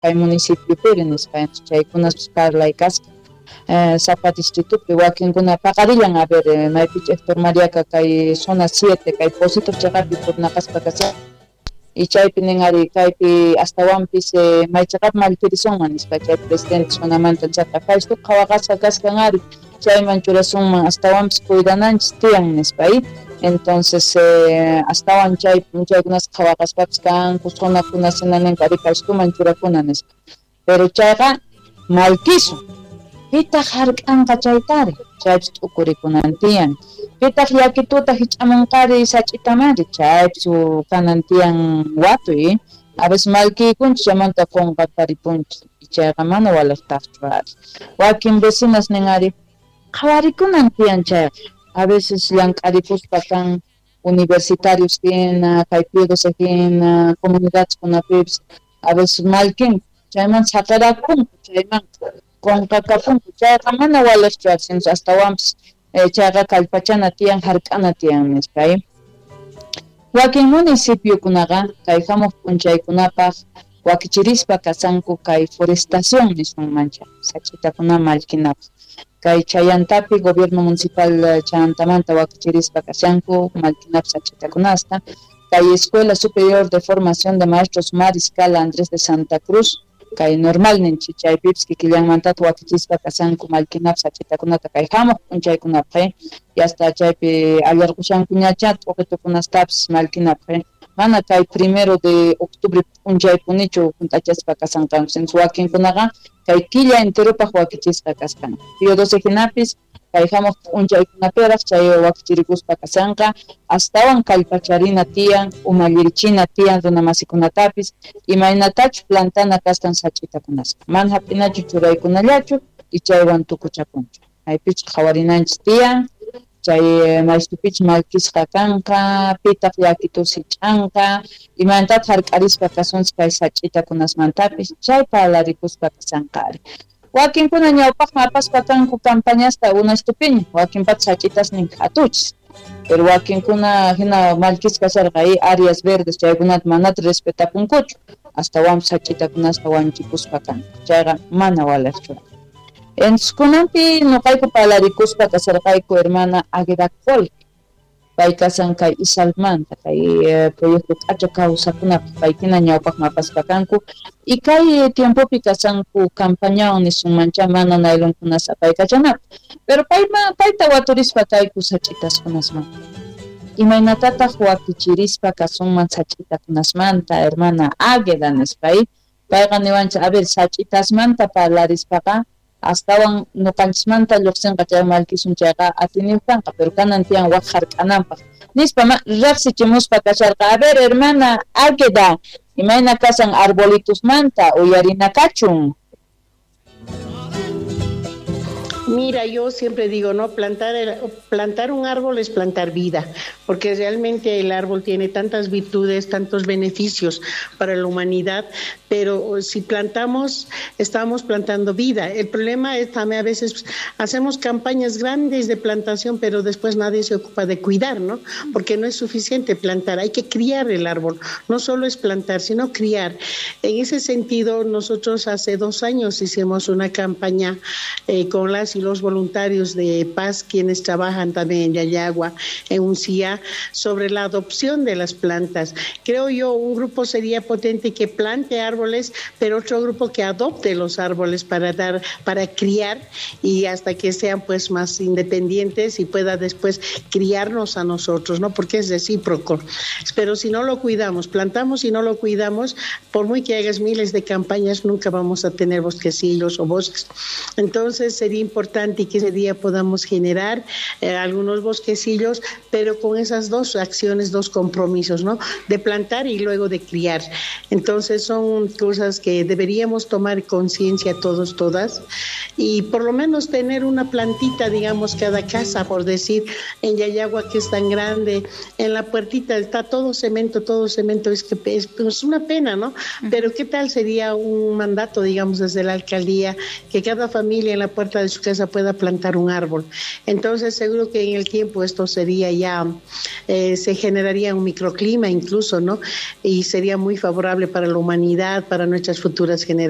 Kay municipiopiri nispa. Chaykunaspis parlay kasqa sapa distritopi wakinkuna paqarillan. A ver, maypichu Héctor Mariaca kay zona 7 kay Pocitos cheqapi purnaqaspa kashan y chaypi nin ari kaypi astawanpis may cheqap mallkirisunman nispa chay presidente zonamanta chaqa kaystu qhawaqasqa kasqan ari chayman churasunman astawanpis cuidananchis tiyan nispa. Entonces astawan chay p'unchaykunas qhawaqaspapis kanku zonakuna hina ninku ari kaystuman churakuna nispa. Pero chayqa malkisun. Pitaq hark'anqa chaytari, chaypis t'ukurikunan tiyan. Pitaq llakituta hich'amunqari sach'itamari, chaypis kanan tiyan watuy. A veces malkiykunchis chaymanta qunqaparipunchis, chayqa mana waliqtaqchu ari. Wakin vecinas nin ari, qhawarikunan tiyan chayqa. A veces llank'arikuspa kan universitarios hina, kay Pío hina, comunidadkunapipis, a veces malkinku, chayman saqirakunku, chayman qunqakapunku, chayqa mana waliqchu ari, astawanpis chayqa kallpachana tiyan, hark'ana tiyan nispa. Wakin municipiokunaqa kay hamuq p'unchaykunapaq wakichirispa kasanku kay forestación nisunmancha, sach'itakuna mallkinapaq. Kay Chayantapi gobierno municipal Chayantamanta wakichirispa kashanku mallkinapaq sach'itakunasta. Kay Escuela Superior de Formación de Maestros Mariscal Andrés de Santa Cruz, kay normal ninchik chaypipis kikillanmantata wakichispa kasanku mallkinapaq sach'itakunata kay hamuq p'unchaykunapaq, y hasta chaypi allarqushankuñacha t'uqitukunastapis mallkinapaq. Mana kay 1 de octubre p'unchaypunichu hunt'achaspa kasanqanku, sino wakinkunaqa kay killa enteropaq wakichisqa kasqanku. Pío XII hinapis kay hamuq p'unchaykunapiraq chay wakichirikuspa kasanqa, astawan kallpacharina tiyan, umallirichina tiyan runamasikunatapis, imaynatachu plantana kasqan sach'itakunaspa. Mana hap'inachu churaykunallachu y chaywan tukuchakunchu. Maypichu qhawarinanchis tiyan, chay maystupichu mallkisqa kanqa, pitaq llakitus hich'anqa, imaynatataq hark'arispa kasunchis kay sach'itakunasmantapis, chay parlarikuspa kasanqa ari. Wakinkuna ñawpaqman apaspa kanku campañasta unastupiña, wakinpata sach'itasnin qhatuchis. Pero wakinkuna hina mallkisqa kasharqa áreas verdes chaykunata manata respetapunkuchu, astawanpis sach'itakunasta wanchikuspa kanku. Chayqa mana waliqchu. Entonces kunanpi nuqayku parlarikuspa kasharqayku hermana Águeda Col. Pay kasan kay Isalmanta, kay proyecto k'acha kawsakunapaq paykuna ñawpaqman apaspa kanku. Y kay tiempopi kasanku campañawan nisunmancha mana nailonkunas apaykachanapaq. Pero payta waturispa kayku sach'itaskunasmanta. Imaynatataq wakichirispa kasunman sach'itakunasmanta, hermana Águeda nispa. Payqa niwanchik, a ver, sach'itasmanta parlarispaqa astawan nuqanchismanta lluqsinqa chay mallkisun chayqa atiniyuq kanqa, pero kanan tiyan waq hark'ananpaq nispa riqsichimuspa kasharqa. A ver, hermana Águeda, imayna kasan arbolitusmanta uyarina kachun. Mira, yo siempre digo, ¿no? Plantar un árbol es plantar vida, porque realmente el árbol tiene tantas virtudes, tantos beneficios para la humanidad, pero si plantamos, estamos plantando vida. El problema es también a veces hacemos campañas grandes de plantación, pero después nadie se ocupa de cuidar, ¿no? Porque no es suficiente plantar, hay que criar el árbol. No solo es plantar, sino criar. En ese sentido, nosotros hace 2 años hicimos una campaña con las y los voluntarios de paz, quienes trabajan también en Llallagua, en Uncía, sobre la adopción de las plantas. Creo yo, un grupo sería potente que plante árboles, pero otro grupo que adopte los árboles para criar y hasta que sean pues más independientes y pueda después criarnos a nosotros, ¿no? Porque es recíproco. Pero si no lo cuidamos, plantamos y no lo cuidamos, por muy que hagas miles de campañas, nunca vamos a tener bosquecillos o bosques. Entonces sería importante que ese día podamos generar algunos bosquecillos, pero con esas 2 acciones, 2 compromisos, ¿no? De plantar y luego de criar. Entonces son cosas que deberíamos tomar conciencia todos, todas, y por lo menos tener una plantita, digamos, cada casa, por decir, en Llallagua, que es tan grande, en la puertita está todo cemento, es que es una pena, ¿no? Pero ¿qué tal sería un mandato, digamos, desde la alcaldía, que cada familia en la puerta de su casa casa pueda plantar un árbol. Entonces, seguro que en el tiempo esto sería ya, se generaría un microclima incluso, ¿no? Y sería muy favorable para la humanidad, para nuestras futuras generaciones.